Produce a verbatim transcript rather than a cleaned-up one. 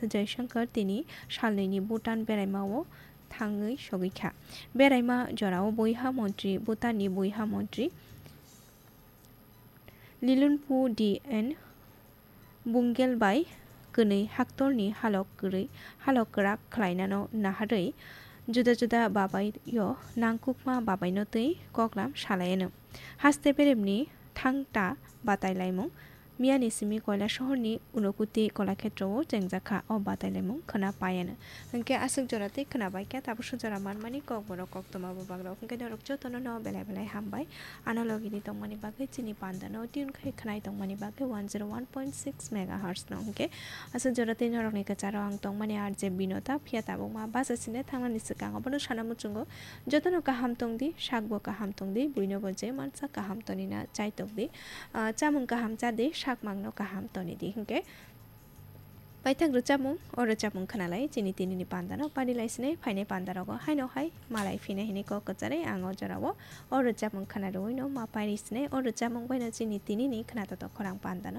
Jaishankar tini salnwini Bhutan beraimao thangwi sogwi kha. Beraima jorao buiha montri, Bhutanni buiha montri Lilunpu D N Bungel bai kwnwi haktorni halok kwrwi, halok kwrak khlainano naharwi juda juda babaio nangkukma babaino twi koklam salaiano. Haste beremni thangta batai laimung. Miyani simi Koilasohorni Unakoti Kolakhetrao chengjakha o batai laimung khwna paiano. Hwnkhe aswk jora tei khwna baikha, tabukso jora manmani kokborok koktwma bubagrok. Hwnkhe norok jotono no belai belai hambai. Ano logini tongmani bagwi chini pandano tune khai khwnai tongmani bagwi one zero one point six megahertz no. Hwnkhe aswk jora tei norokni kwcharo ang tongmani R J Binota, phiya tabukma bachasine thangnani swkang abono sana muchungo. Jotono kaham tongdi, sakbo kaham tongdi, buinobo je mansa kaham tonina chai tongdi. Ah, chamung kaham chadi, sakmangno kaham tonidi. Hwnkhe paithak rwchapmung, o rwchapmung khwnalai chini tinini pandano pari lai sinai phainai pandarogo haino hai malai phinai hinwi kok kwcharwi ang o jorao o rwchapmung khwna rwino ma pari sinai. O rwchapmung baino chini tinini khwna totok khorang pandano